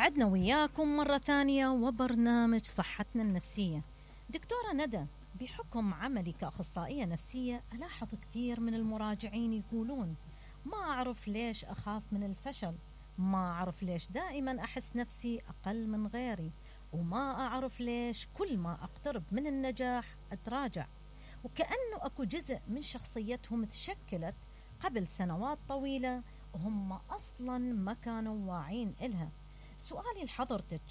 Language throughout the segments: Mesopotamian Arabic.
وعدنا وياكم مرة ثانية وبرنامج صحتنا النفسية. دكتورة ندى، بحكم عملي كأخصائية نفسية ألاحظ كثير من المراجعين يقولون ما أعرف ليش أخاف من الفشل، ما أعرف ليش دائما أحس نفسي أقل من غيري، وما أعرف ليش كل ما أقترب من النجاح أتراجع، وكأنه أكو جزء من شخصيتهم تشكلت قبل سنوات طويلة وهم أصلا ما كانوا واعين إلها. سؤالي لحضرتك،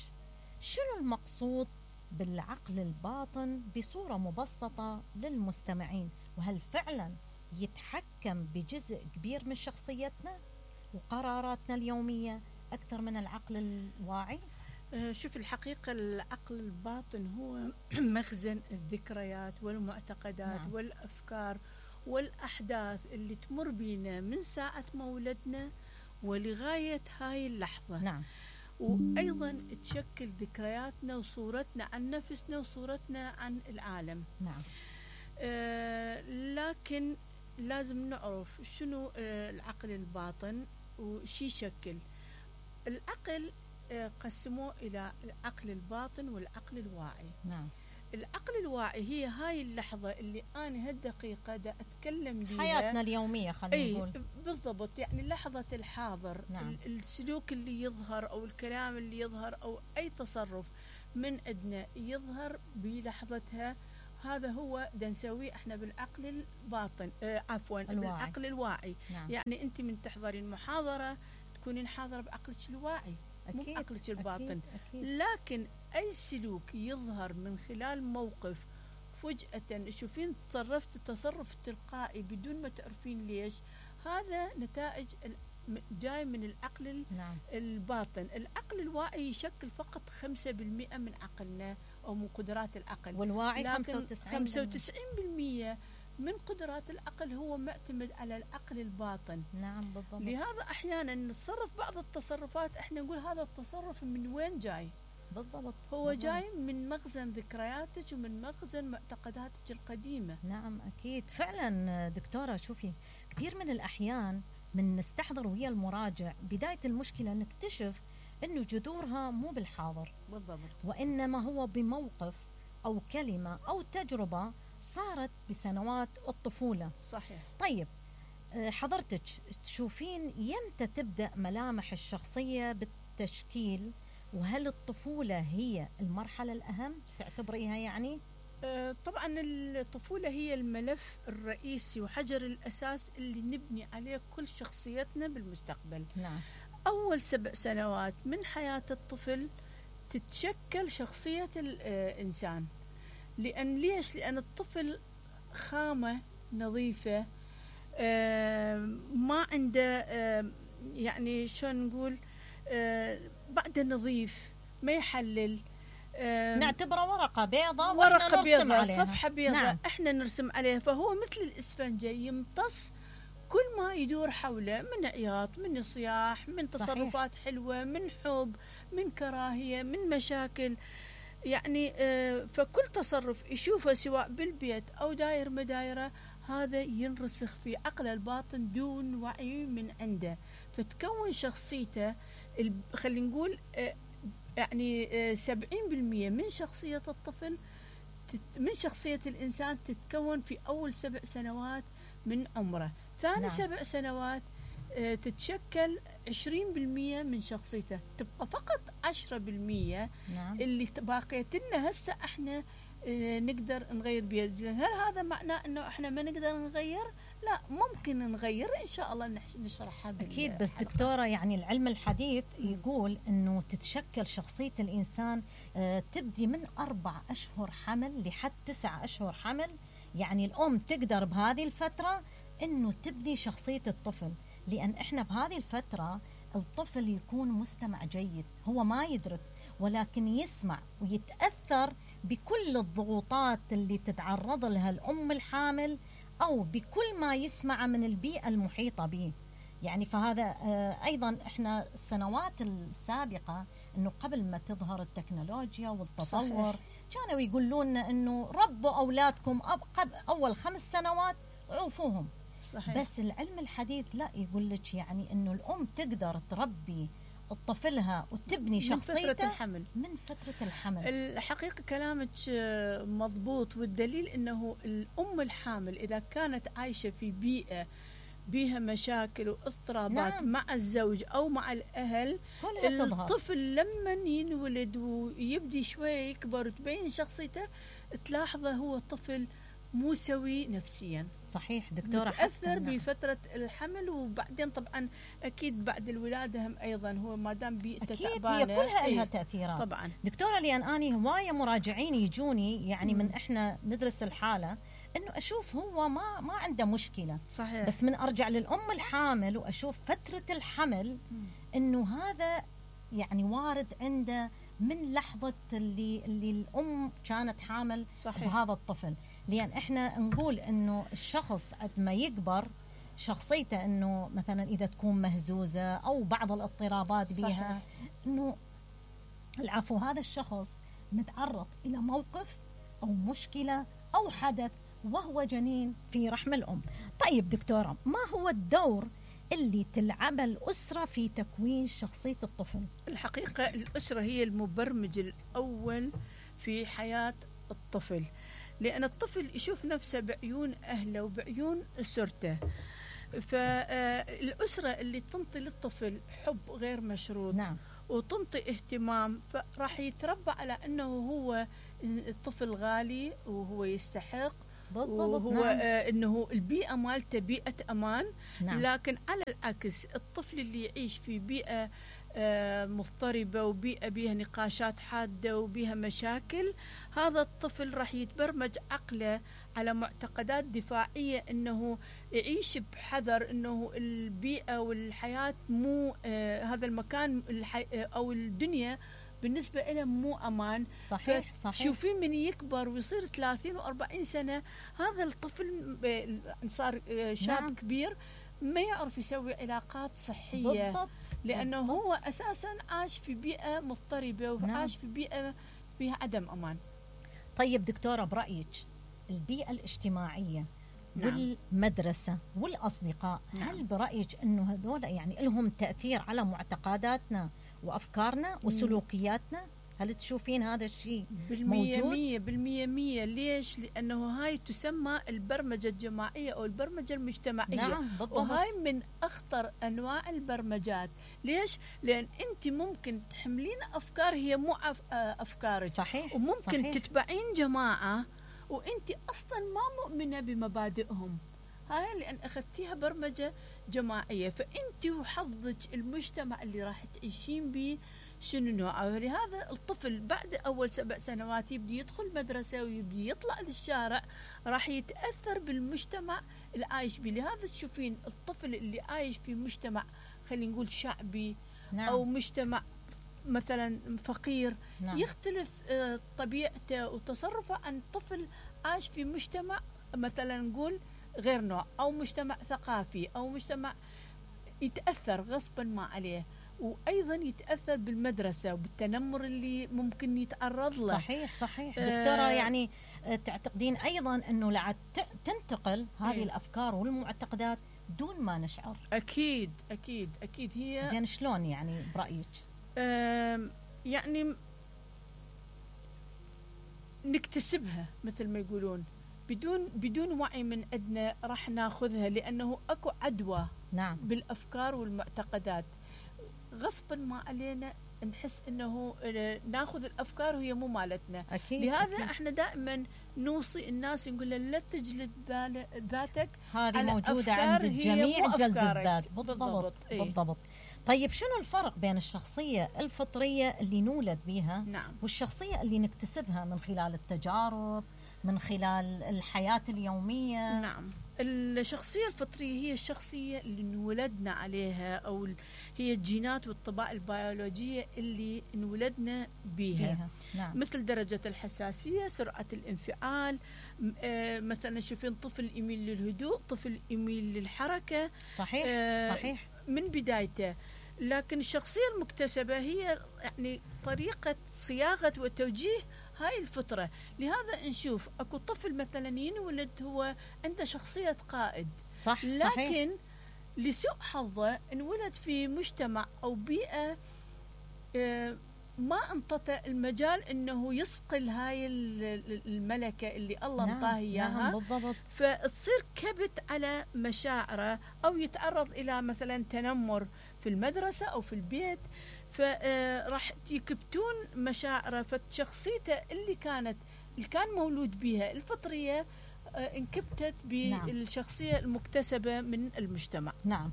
شنو المقصود بالعقل الباطن بصورة مبسطة للمستمعين؟ وهل فعلا يتحكم بجزء كبير من شخصيتنا وقراراتنا اليومية أكثر من العقل الواعي؟ شوف، الحقيقة العقل الباطن هو مخزن الذكريات والمعتقدات والأفكار والأحداث اللي تمر بينا من ساعة مولدنا ولغاية هاي اللحظة. نعم. وأيضا تشكل ذكرياتنا وصورتنا عن نفسنا وصورتنا عن العالم. نعم. لكن لازم نعرف شنو العقل الباطن وشي يشكل. العقل قسموه إلى العقل الباطن والعقل الواعي. نعم. العقل الواعي هي هاي اللحظة اللي أنا هالدقيقة دا أتكلم بيها، حياتنا اليومية خلينا نقول. بالضبط، يعني لحظة الحاضر. نعم. السلوك اللي يظهر أو الكلام اللي يظهر أو أي تصرف من عندنا يظهر بلحظتها، هذا هو دا نسويه احنا بالعقل الباطن، بالعقل الواعي. نعم. يعني أنت من تحضرين محاضرة تكونين حاضرة بعقلك الواعي، مو بعقلك الباطن. أكيد. أكيد. لكن أي سلوك يظهر من خلال موقف فجأة تشوفين تصرفت تصرف تلقائي بدون ما تعرفين ليش، هذا نتائج جاي من العقل نعم. الباطن. العقل الواعي يشكل فقط 5% من عقلنا أو من قدرات العقل، والواعي 95% من قدرات العقل هو معتمد على العقل الباطن. نعم بالضبط. لهذا أحيانا نتصرف بعض التصرفات احنا نقول هذا التصرف من وين جاي؟ بالضبط. هو جاي من مخزن ذكرياتك ومن مخزن معتقداتك القديمة. نعم أكيد فعلا. دكتورة شوفي، كثير من الأحيان من نستحضر ويا المراجع بداية المشكلة نكتشف أنه جذورها مو بالحاضر. بالضبط. وإنما هو بموقف أو كلمة أو تجربة صارت بسنوات الطفولة. صحيح. طيب حضرتك تشوفين يمتى تبدأ ملامح الشخصية بالتشكيل؟ وهل الطفولة هي المرحلة الأهم تعتبريها يعني؟ طبعا الطفولة هي الملف الرئيسي وحجر الأساس اللي نبني عليه كل شخصيتنا بالمستقبل. نعم. أول 7 سنوات من حياة الطفل تتشكل شخصية الإنسان. ليش؟ لأن الطفل خامة نظيفة، ما عنده يعني شلون نقول، بعده نظيف، ما يحلل. نعتبره ورقة بيضاء، ورقة بيضاء، صفحة بيضاء. نعم. احنا نرسم عليها، فهو مثل الإسفنجة يمتص كل ما يدور حوله من عياط، من صياح، من تصرفات صحيح. حلوة، من حب، من كراهية، من مشاكل. يعني فكل تصرف يشوفه سواء بالبيت أو داير مدايرة، هذا ينرسخ في عقل الباطن دون وعي من عنده، فتكون شخصيته خلينا نقول يعني 70% من شخصية الطفل، من شخصية الإنسان تتكون في أول 7 سنوات من عمره. ثاني نعم. 7 سنوات تتشكل 20% من شخصيته، تبقى فقط 10% نعم. اللي باقيت لنا هسه احنا نقدر نغير بيها. هل هذا معناه انه احنا ما نقدر نغير؟ لا، ممكن نغير ان شاء الله، نشرحها اكيد. بس دكتورة يعني العلم الحديث يقول انه تتشكل شخصية الانسان تبدي من 4 أشهر حمل لحد 9 أشهر حمل. يعني الام تقدر بهذه الفترة انه تبني شخصية الطفل، لان احنا بهذه الفترة الطفل يكون مستمع جيد، هو ما يدرك ولكن يسمع ويتأثر بكل الضغوطات اللي تتعرض لها الأم الحامل أو بكل ما يسمع من البيئة المحيطة به. يعني فهذا أيضا إحنا السنوات السابقة أنه قبل ما تظهر التكنولوجيا والتطور صحيح. كانوا يقولون أنه ربوا أولادكم أول 5 سنوات عوفوهم صحيح. بس العلم الحديث لا، يقول لك يعني أنه الأم تقدر تربي طفلها وتبني شخصيته من فترة الحمل. من فترة الحمل. الحقيقة كلامك مضبوط، والدليل أنه الأم الحامل إذا كانت عايشة في بيئة بيها مشاكل واضطرابات نعم. مع الزوج أو مع الأهل، الطفل لما ينولد ويبدي شوية يكبر وتبين شخصيته، تلاحظه هو طفل مو سوي نفسيا. صحيح دكتورة، تأثر بفترة الحمل، وبعدين طبعا أكيد بعد الولادة هم أيضا هو ما دام بيئته تعبانة أكيد هي كلها لها تأثيرات طبعا. دكتورة، لأن أنا هواية مراجعين يجوني يعني من إحنا ندرس الحالة، إنه أشوف هو ما عنده مشكلة. صحيح. بس من أرجع للأم الحامل وأشوف فترة الحمل إنه هذا يعني وارد عنده من لحظة اللي الأم كانت حامل. صحيح. بهذا الطفل، لأن إحنا نقول إنه الشخص قد ما يكبر شخصيته إنه مثلا إذا تكون مهزوزة أو بعض الاضطرابات بها، إنه العفو هذا الشخص متعرض إلى موقف أو مشكلة أو حدث وهو جنين في رحم الأم. طيب دكتورة، ما هو الدور اللي تلعبه الأسرة في تكوين شخصية الطفل؟ الحقيقة الأسرة هي المبرمج الأول في حياة الطفل، لأن الطفل يشوف نفسه بعيون أهله وبعيون أسرته. فالأسرة اللي تنطي للطفل حب غير مشروط، نعم. وتنطي اهتمام، فراح يتربى على أنه هو الطفل غالي وهو يستحق. وهو نعم. أنه البيئة مالته بيئة أمان. نعم. لكن على العكس الطفل اللي يعيش في بيئة مضطربة وبيئة بيها نقاشات حادة وبيها مشاكل، هذا الطفل راح يتبرمج عقله على معتقدات دفاعية، أنه يعيش بحذر، أنه البيئة والحياة مو هذا المكان أو الدنيا بالنسبة له مو أمان. صحيح. شوفين من يكبر ويصير 30 و40 سنة، هذا الطفل صار شاب. نعم. كبير ما يعرف يسوي علاقات صحية. بالضبط. لأنه بالضبط. هو أساسا عاش في بيئة مضطربة وعاش في بيئة فيها عدم أمان. طيب دكتورة، برأيك البيئة الاجتماعية والمدرسة والأصدقاء، هل برأيك أنه هذول يعني لهم تأثير على معتقداتنا وأفكارنا وسلوكياتنا؟ هل تشوفين هذا الشيء موجود؟ 100%. ليش؟ لأنه هاي تسمى البرمجة الجماعية أو البرمجة المجتمعية. نعم بالضبط. وهاي من أخطر أنواع البرمجات. ليش؟ لأن أنت ممكن تحملين أفكار هي مو أفكارك. صحيح. وممكن صحيح. تتبعين جماعة وأنت أصلا ما مؤمنة بمبادئهم، هاي لأن أخذتيها برمجة جماعية. فأنت وحظك المجتمع اللي راح تعيشين به شنو نوعه. لهذا الطفل بعد أول 7 سنوات يبدي يدخل مدرسة ويبدي يطلع للشارع، راح يتأثر بالمجتمع اللي عايش به. لهذا تشوفين الطفل اللي عايش في مجتمع خلينا نقول شعبي. نعم. أو مجتمع مثلا فقير. نعم. يختلف طبيعته وتصرفه عن طفل عاش في مجتمع مثلا نقول غير نوع، أو مجتمع ثقافي، أو مجتمع يتأثر غصبا ما عليه. وأيضا يتأثر بالمدرسة وبالتنمر اللي ممكن يتعرض له. صحيح دكتورة، يعني تعتقدين أيضا أنه لعد تنتقل هذه الأفكار والمعتقدات دون ما نشعر؟ أكيد هي زين. شلون يعني برأيك؟ يعني نكتسبها مثل ما يقولون بدون وعي من عندنا، راح ناخذها لأنه أكو عدوى. نعم. بالأفكار والمعتقدات غصبا ما علينا نحس انه ناخذ الافكار وهي مو مالتنا. أكيد. لهذا أكيد. احنا دائما نوصي الناس نقول لا تجلد ذاتك، هذه موجوده عند الجميع، جلد الذات. بالضبط. طيب شنو الفرق بين الشخصيه الفطريه اللي نولد بها نعم. والشخصيه اللي نكتسبها من خلال التجارب، من خلال الحياه اليوميه؟ نعم. الشخصية الفطرية هي الشخصية اللي انولدنا عليها، أو هي الجينات والطباع البيولوجية اللي انولدنا بيها. نعم. مثل درجة الحساسية، سرعة الانفعال. مثلا شوفين طفل يميل للهدوء، طفل يميل للحركة. صحيح. من بدايته. لكن الشخصية المكتسبة هي يعني طريقة صياغة وتوجيه هاي الفطرة. لهذا نشوف أكو طفل مثلا ينولد هو عنده شخصية قائد. صح. لكن لسوء حظه انولد في مجتمع أو بيئة ما انطته المجال انه يصقل هاي الملكه اللي الله انطاه اياها. بالضبط. فتصير كبت على مشاعره، او يتعرض الى مثلا تنمر في المدرسه او في البيت، فراح يكبتون مشاعره. فشخصيته اللي كان مولود بها الفطريه انكبتت بالشخصيه المكتسبه من المجتمع. نعم.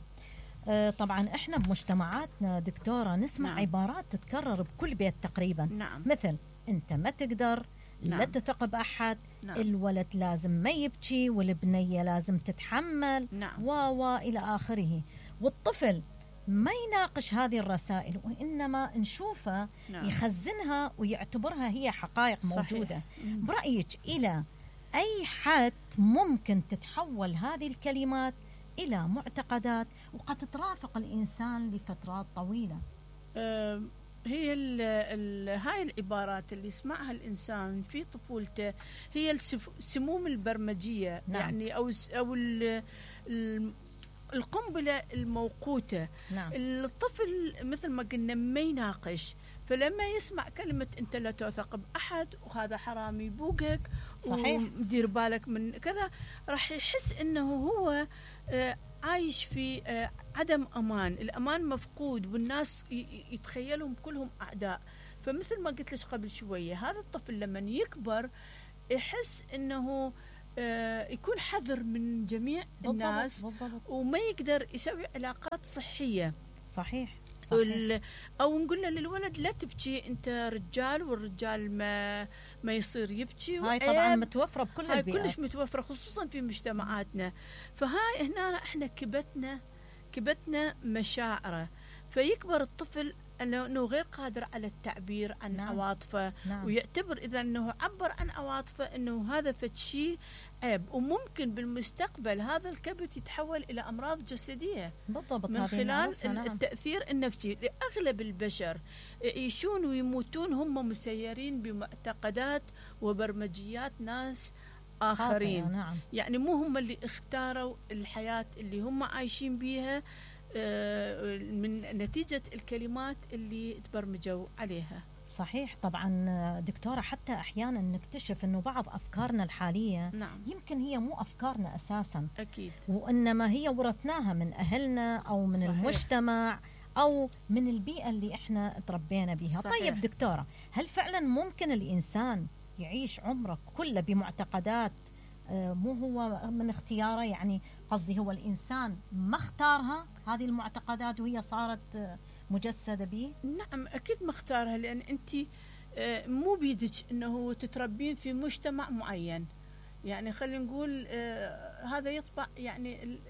طبعا احنا بمجتمعاتنا دكتورة نسمع عبارات تتكرر بكل بيت تقريبا. مثل انت ما تقدر، لا تثق بأحد، الولد لازم ما يبكي، والبنية لازم تتحمل، إلى آخره. والطفل ما يناقش هذه الرسائل، وإنما نشوفه يخزنها ويعتبرها هي حقائق موجودة. برأيك إلى أي حد ممكن تتحول هذه الكلمات إلى معتقدات وقد ترافق الإنسان لفترات طويلة؟ هي هاي العبارات اللي يسمعها الإنسان في طفولته هي السموم البرمجية. يعني أو القنبلة الموقوتة. الطفل مثل ما قلنا ما يناقش، فلما يسمع كلمة أنت لا تثق بأحد، وهذا حرامي بوقك، ودير بالك من كذا، راح يحس أنه هو عايش في عدم أمان، الأمان مفقود، والناس يتخيلهم كلهم أعداء. فمثل ما قلت لك قبل شوية، هذا الطفل لما يكبر يحس أنه يكون حذر من جميع الناس، وما يقدر يسوي علاقات صحية. صحيح. أو نقول له للولد لا تبكي، أنت رجال، والرجال ما يصير يبكي. هاي طبعا متوفرة بكل البيئات، كلش متوفرة خصوصا في مجتمعاتنا. فهاي هنا احنا كبتنا مشاعره، فيكبر الطفل أنه غير قادر على التعبير عن عواطفه. ويعتبر إذا أنه عبر عن عواطفه أنه هذا فشي عيب، وممكن بالمستقبل هذا الكبت يتحول إلى أمراض جسدية. بالضبط. من خلال التأثير النفسي. لأغلب البشر يعيشون ويموتون هم مسيرين بمعتقدات وبرمجيات ناس آخرين. يعني مو هم اللي اختاروا الحياة اللي هم عايشين بيها من نتيجة الكلمات اللي تبرمجوا عليها. صحيح. طبعا دكتورة، حتى أحيانا نكتشف أنه بعض أفكارنا الحالية يمكن هي مو أفكارنا أساسا. أكيد. وإنما هي ورثناها من أهلنا أو من المجتمع أو من البيئة اللي إحنا تربينا بها. طيب دكتورة، هل فعلا ممكن الإنسان يعيش عمره كله بمعتقدات مو هو من اختياره؟ يعني قصدي هو الإنسان ما اختارها هذه المعتقدات وهي صارت مجسدة به؟ نعم أكيد ما اختارها، لأن أنت مو بيدك أنه تتربين في مجتمع معين. يعني خلينا نقول هذا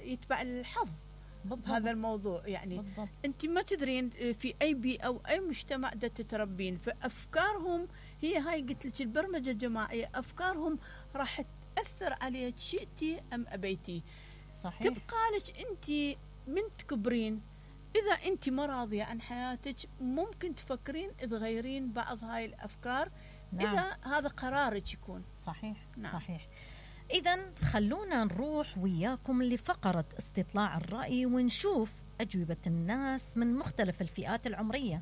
يتبع الحظ. بالضبط. هذا الموضوع يعني بالضبط. أنت ما تدرين في أي بيئة أو أي مجتمع دا تتربين، فأفكارهم هي هاي قلت لك البرمجة الجماعية، أفكارهم راح تأثر عليك شئتي أم أبيتي. صحيح. تبقى لك أنت من تكبرين، إذا أنت ما راضية عن حياتك ممكن تفكرين تغيرين بعض هاي الأفكار. إذا هذا قرارك يكون. صحيح. صحيح. إذن خلونا نروح وياكم لفقرة استطلاع الرأي ونشوف أجوبة الناس من مختلف الفئات العمرية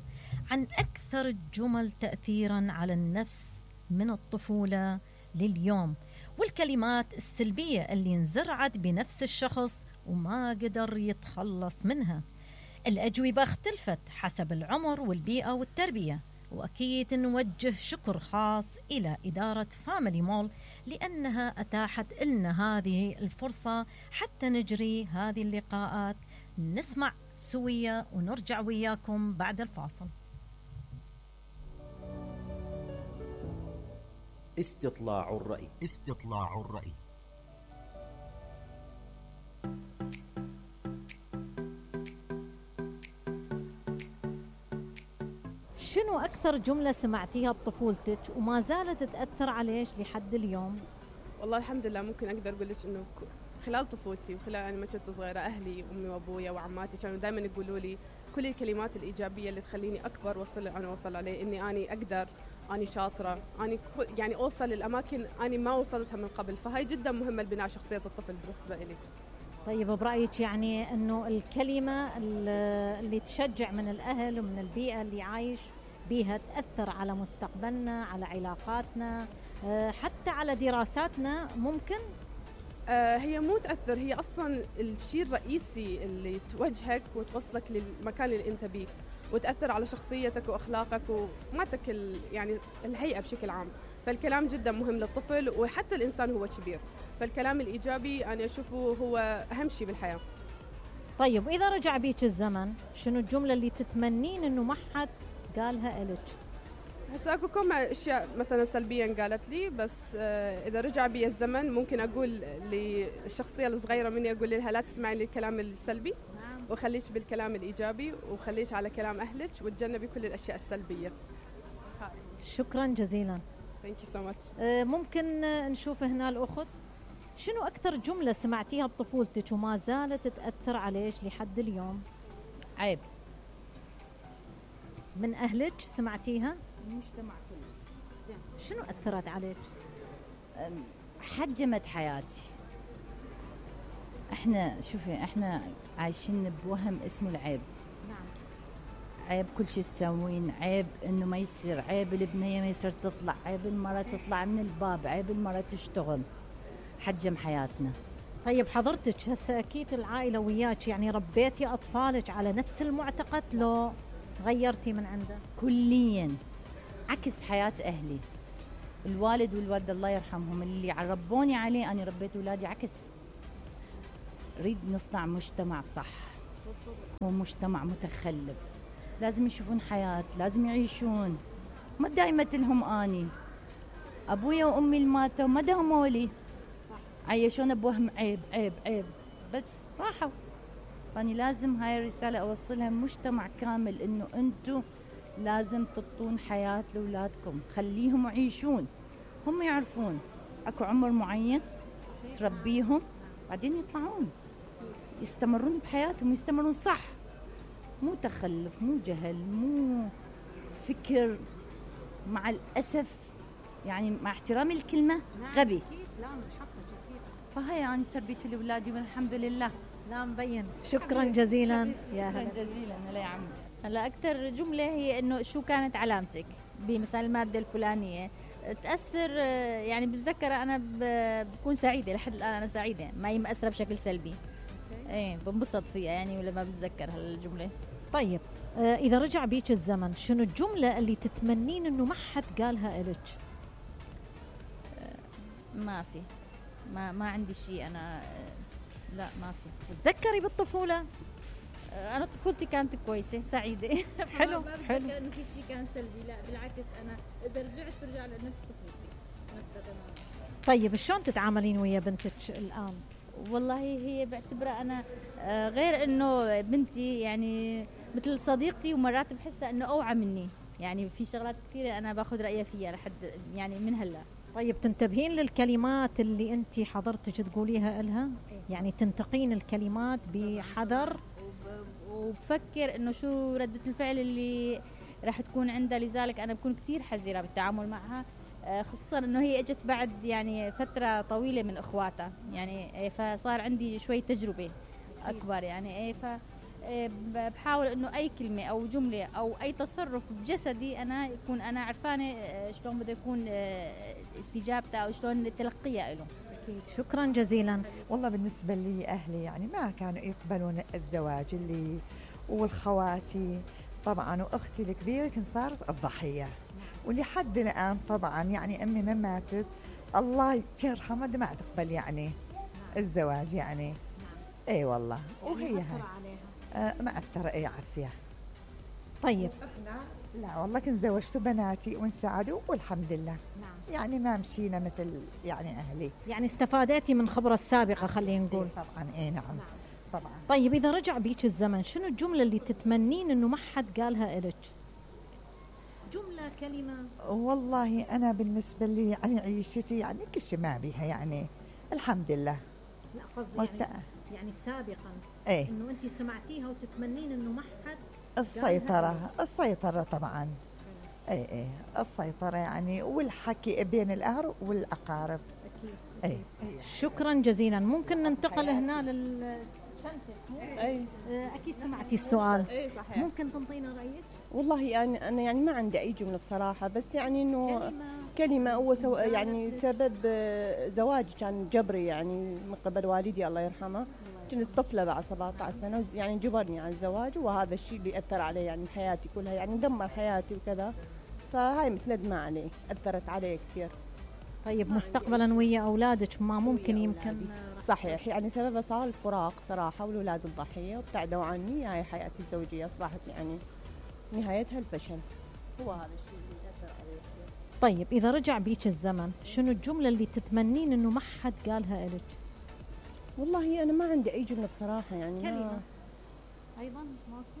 عن أكثر الجمل تأثيرا على النفس من الطفولة لليوم، والكلمات السلبية اللي انزرعت بنفس الشخص وما قدر يتخلص منها. الأجوبة اختلفت حسب العمر والبيئة والتربية، وأكيد نوجه شكر خاص إلى إدارة فاميلي مول لأنها أتاحت لنا هذه الفرصة حتى نجري هذه اللقاءات. نسمع سوية ونرجع وياكم بعد الفاصل. استطلاع الرأي. استطلاع الرأي. شنو أكثر جملة سمعتيها بطفولتك وما زالت تأثر عليك لحد اليوم؟ والله الحمد لله ممكن أقدر أقول لك إنه خلال طفولتي وخلال أنا ما كنت صغيرة، أهلي أمي وأبويا وعماتي كانوا دائما يقولوا لي كل الكلمات الإيجابية اللي تخليني أكبر وصل أنا وصل عليه، إني أنا أقدر، أنا شاطرة، أنا يعني أوصل للأماكن أنا ما وصلتها من قبل. فهاي جدا مهمة لبناء شخصية الطفل بالنسبة إلي. طيب برأيك يعني أنه الكلمة اللي تشجع من الأهل ومن البيئة اللي عايش بيها تأثر على مستقبلنا، على علاقاتنا، حتى على دراساتنا ممكن؟ هي مو تأثر، هي أصلا الشيء الرئيسي اللي توجهك وتوصلك للمكان اللي أنت بيه، وتأثر على شخصيتك وأخلاقك وماتك يعني الهيئة بشكل عام. فالكلام جدا مهم للطفل وحتى الإنسان هو كبير، فالكلام الإيجابي أنا أشوفه هو أهم شيء بالحياة. طيب إذا رجع بيك الزمن شنو الجملة اللي تتمنين إنه ما حد قالها إلك؟ هسا اكو كم اشياء مثلا سلبيا قالت لي، بس اذا رجع بي الزمن ممكن اقول للشخصيه الصغيره مني، اقول لها لا تسمعي للكلام السلبي، وخليش بالكلام الايجابي، وخليش على كلام اهلك، وتجنبي كل الاشياء السلبيه. شكرا جزيلا. ثانك يو سو ماتش. ممكن نشوف هنا الاخت، شنو اكثر جمله سمعتيها بطفولتك وما زالت تاثر عليك لحد اليوم؟ عيب. من اهلك سمعتيها؟ المجتمع كله. زين، شنو اثرت عليك؟ حجمت حياتي. احنا عايشين بوهم اسمه العيب. نعم. عيب كل شيء تسوين، عيب انه ما يصير، عيب البنيه ما يصير تطلع، عيب المراه تطلع من الباب، عيب المراه تشتغل. حجم حياتنا. طيب حضرتك هسه اكيد العائله وياك، يعني ربيتي اطفالك على نفس المعتقد لو غيرتي من عنده؟ كليا عكس حياه اهلي. الوالد والوالده الله يرحمهم اللي ربوني عليه، انا ربيت اولادي عكس. نريد نصنع مجتمع صح، مو مجتمع متخلف. لازم يشوفون حياه، لازم يعيشون. ما دايما لهم اني ابويا وامي اللي ماتوا ما داموا لي، عيشونا بوهم عيب عيب عيب، بس راحوا. فاني لازم هاي الرساله اوصلها مجتمع كامل، انه انتم لازم تعطون حياه لاولادكم، خليهم يعيشون، هم يعرفون اكو عمر معين تربيهم، بعدين يطلعون يستمرون بحياتهم، يستمرون صح، مو تخلف، مو جهل، مو فكر. مع الاسف يعني مع احترامي الكلمه غبي. لا من حقك اكيد. فهي يعني تربيتي لاولادي والحمد لله. لا مبين. شكرا جزيلا. شكرا جزيلا. هلا يا عمي. هلا اكثر جمله هي انه شو كانت علامتك بمثلا الماده الفلانيه تاثر، يعني بتذكر انا بكون سعيده، لحد الان انا سعيده، ما هي مأثره بشكل سلبي. ايه بنبسط فيها يعني لما بتذكر هالجمله. طيب اذا رجع بيك الزمن شنو الجمله اللي تتمنين انه ما حد قالها إلك؟ ما في، ما عندي شيء انا. لا ما في. تذكري بالطفوله؟ انا طفولتي كانت كويسه سعيده. حلو حلو. انه في شيء كان سلبي، لا بالعكس، انا اذا رجعت برجع لنفس طفولتي نفسها تماما. طيب شلون تتعاملين ويا بنتك الان؟ والله هي بعتبرها انا غير انه بنتي، يعني مثل صديقتي، ومرات بحسها انه اوعى مني، يعني في شغلات كثيره انا باخذ رايها فيها لحد يعني من هلا. طيب تنتبهين للكلمات اللي انت حضرتك تقوليها لها؟ يعني تنتقين الكلمات بحذر، وبفكر انه شو ردة الفعل اللي راح تكون عندها، لذلك انا بكون كثير حذرة بالتعامل معها، خصوصا انه هي اجت بعد يعني فترة طويلة من اخواتها، يعني فصار عندي شوي تجربة اكبر، يعني بحاول انه اي كلمة او جملة او اي تصرف بجسدي انا يكون انا عرفانة شلون بده يكون استجابته او شلون تلقيها له. شكرا جزيلا. والله بالنسبة لي أهلي يعني ما كانوا يقبلون الزواج اللي، والخواتي طبعا وأختي الكبيرة كنت صارت الضحية، ولحد الآن طبعا يعني أمي ما ماتت الله ترحمها ما تقبل يعني الزواج يعني. اي والله. وهي هاي ما أثر اي عافية. طيب لا والله كنت زوجت بناتي وانسعدوا والحمد لله. يعني ما مشينا مثل يعني أهلي. يعني استفادتي من خبرة السابقة خلينا نقول. طبعا اي نعم طبعا. طيب إذا رجع بيك الزمن شنو الجملة اللي تتمنين إنه ما حد قالها إلك؟ جملة، كلمة. والله أنا بالنسبة لي يعني عيشتي يعني كل شيء ما بيها يعني الحمد لله. لا قصدي يعني سابقا ايه إنه أنت سمعتيها وتتمنين إنه ما حد. السيطرة طبعا. اي السيطرة يعني، والحكي بين الأهل والأقارب. أكيد. شكرا جزيلا. ممكن ننتقل هنا لل. اي أكيد سمعتي السؤال. اي صحيح. ممكن تنطينا رأيك؟ والله يعني أنا يعني ما عندي أي جملة بصراحة، بس يعني إنه كلمة هو يعني سبب زواجي كان جبري يعني من قبل والدي الله يرحمه. كنت طفلة بعد 17 سنة يعني جبرني على الزواج، وهذا الشيء اللي أثر علي يعني حياتي كلها، يعني دمر حياتي وكذا. فهاي مثل ندمة عليه، أثرت علي كثير. طيب مستقبلا ويا أولادك ما ممكن يمكن؟ صحيح، يعني سببها صار الفراق صراحة، والأولاد الضحية وابتعدوا عني. هاي حياتي الزوجية أصبحت يعني نهايتها الفشل. هو هذا الشيء اللي أثر علي. طيب إذا رجع بيك الزمن شنو الجملة اللي تتمنين إنه ما حد قالها إلك؟ والله أنا ما عندي أي جملة بصراحة يعني. كلمة أيضا ماكو؟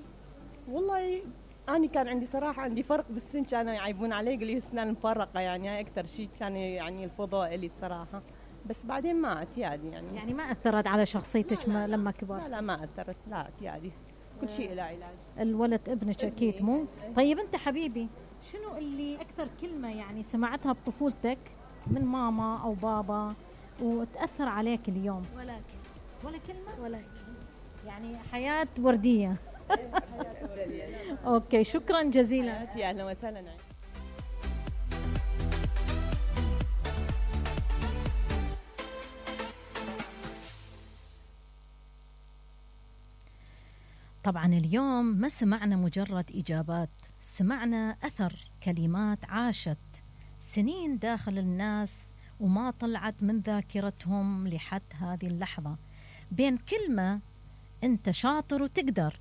والله أنا كان عندي صراحة عندي فرق بالسن، كانوا يعيبون علي يقولوا لي أسنان مفرقة، يعني هاي أكثر شيء كان يعني الفضاء لي بصراحة. بس بعدين ما اعتيادي يعني ما أثرت على شخصيتك لما كبرت؟ لا ما أثرت، لا اعتيادي، كل شيء له علاج. الولد ابنك أكيد مو؟ طيب أنت حبيبي شنو اللي أكثر كلمة يعني سمعتها بطفولتك من ماما أو بابا وتأثر عليك اليوم؟ ولا كلمة؟ يعني حياة وردية. أوكي شكرا جزيلا. يا أهلا وسهلا. طبعا اليوم ما سمعنا مجرد إجابات، سمعنا أثر كلمات عاشت سنين داخل الناس وما طلعت من ذاكرتهم لحد هذه اللحظة. بين كلمة أنت شاطر وتقدر